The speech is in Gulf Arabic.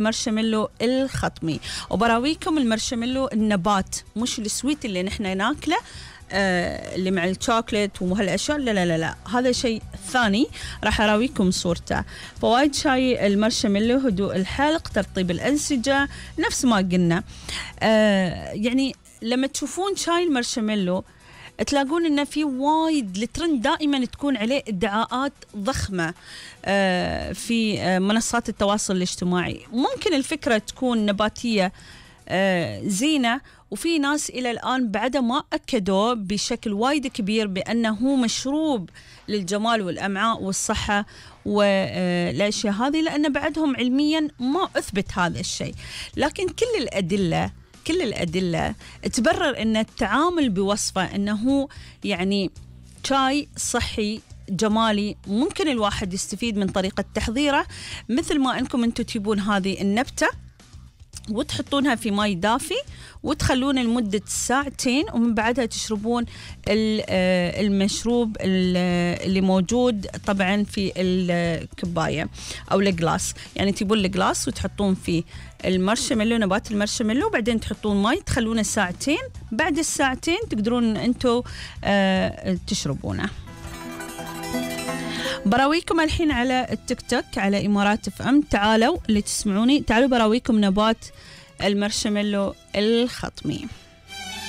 مارشميلو الخطمي، وبراويكم المارشميلو النبات مش السويت اللي نحن ناكله اللي مع الشوكليت وهالاشياء. لا لا لا لا، هذا شيء ثاني راح اراويكم صورته. فوايد شاي المارشميلو هدوء الحلق، ترطيب الانسجه، نفس ما قلنا. يعني لما تشوفون شاي المارشميلو تلاقون انه في وايد الترند دائما تكون عليه ادعاءات ضخمه في منصات التواصل الاجتماعي. ممكن الفكره تكون نباتيه زينه، وفي ناس الى الان بعد ما اكدوا بشكل وايد كبير بانه مشروب للجمال والامعاء والصحه والاشياء هذه، لان بعدهم علميا ما اثبت هذا الشيء. لكن كل الأدلة تبرر أن التعامل بوصفه أنه يعني شاي صحي جمالي ممكن الواحد يستفيد من طريقة تحضيره، مثل ما أنكم أنتم تجيبون هذه النبتة وتحطونها في ماء دافي وتخلون لمدة ساعتين، ومن بعدها تشربون المشروب اللي موجود طبعا في الكباية أو الجلاس. يعني تجيبون الجلاس وتحطون فيه المارشميلو، نبات المارشميلو، وبعدين تحطون ماء تخلونه ساعتين، بعد الساعتين تقدرون أنتوا تشربونه. براويكم الحين على التيك توك على إمارات اف ام. تعالوا اللي تسمعوني، تعالوا براويكم نبات المارشميلو الخطمي.